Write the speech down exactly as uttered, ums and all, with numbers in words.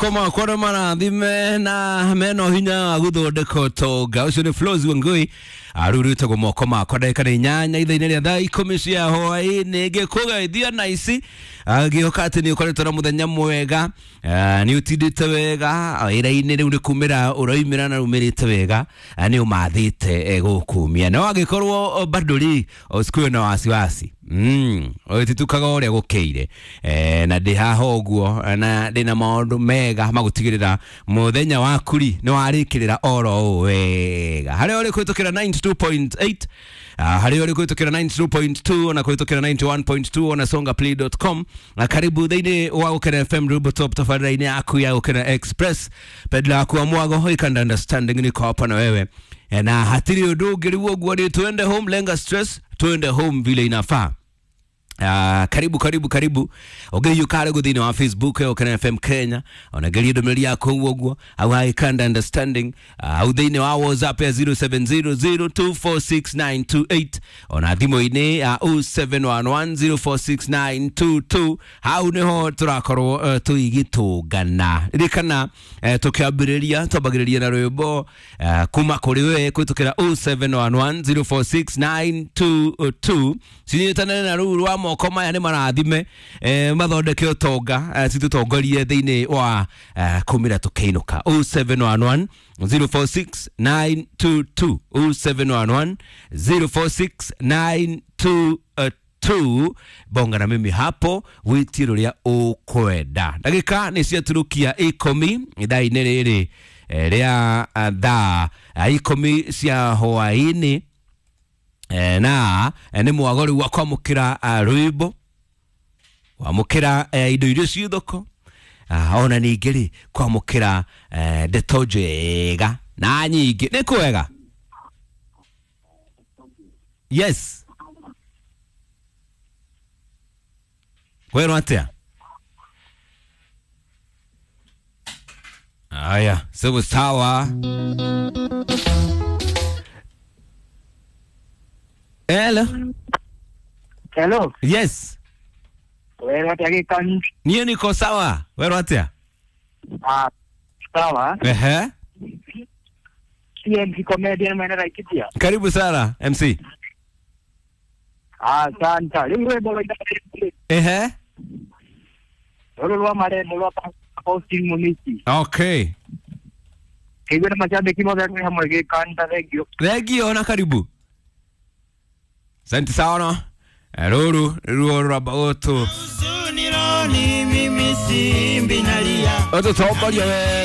Koma kwara marathime na meno hinya wa guthondeka utonga ucio ni Flos Wangui arurite moko makwa ndagika nĩ inyanya ithaa-inĩ rĩa thaa ikũmi cia hwaĩ-inĩ ngĩkũgeithia na ici ngĩhoka atĩ nĩ ũkoretwo na mũthenya mwega, nĩ ũtindĩte wega wĩra-inĩ rĩu nĩ kumĩra ũroimĩra na umĩrĩte wega, nĩ ũmathĩte gũkumia no angĩkorwo bado rĩ usikuwe na wasiwasi. Mm, ũtitukaga ũrĩa gũkĩire e, na ndĩ haha ũguo na ndĩna maũndũ mega magũtigĩrĩra mũthenya waku rĩ nĩ warĩkĩrĩra oro ũũ wega harĩa ũrĩ kũhĩtũkĩra ninety two point eight, harĩa ũrĩ kũhĩtũkĩra ninety two point two na kũhĩtũkĩra ninety one point two na songa play dot com na karibu thĩinĩ wa Gũkena F M Rubo Top tabarĩra-inĩ yaku ya Gũkena Express pedla yaku wa mwago ikanda understanding niko hapa na wewe na hatiri ũndũ ũngĩ rĩu ũguo nĩ tuende home lenga stress tuende home vile inafaa. Uh, karibu karibu karibu ũngĩiyũka rĩu thĩinĩ wa Facebook ya Gũkena F M Kenya onageria ndũmĩrĩri yaku ũguo ũguo au haikanda understanding au thĩinĩ wa WhatsApp ya zero seven zero zero two four six nine two eight ona thimũ-inĩ ya oh seven one one zero four six nine two two hau nĩho tũrakorwo uh, tũigĩtũngana ririkana uh, tũkĩambĩrĩria twambagĩrĩria na rwĩmbo uh, kuma kũrĩ we kũhĩtũkĩra oh seven one one zero four six nine two two cinyitanĩre na rũu rwa moko maya nĩ marathime eh, mathondeke ũtonga eh, citũtongorie thĩinĩ wa eh, kumĩra tũkĩinũka oh seven one one zero four six nine two two oh seven one one zero four six nine two two bonga na mimi hapo wĩtie rũrĩa ũkwenda ndagĩka nĩ ciaturukia ikũmi ithaa-inĩ rĩrĩ rĩa thaa ikũmi cia hwaĩ-inĩ na nĩ mwago rĩu wa kwamũkĩra rwĩmbo kwamũkĩra indo iria ciĩ thoko ona ningĩ rĩ kwamũkĩra ndeto njega na nyingĩ nĩ kwega. Yes, kwĩrwo atĩa? Aya, sawa sawa. Hello. Hello. Yes. Wewe atia gikani? Niĩ niko sawa. Wewe atia? Ah, sawa. Ehe. T M C comedian mwene Laikipia. Karibu sana M C. Ah, asante. Rĩu rwĩmbo rwa Ehe. Rũrũ rwa marembo rwa Faustin Munisi. Okay. Kĩigua na macambĩki mothe twĩ hamwe gĩkani ta thengio. Thengio na karibu. Asante sana. Ruru ruo rwa oto. Oto tomboria we.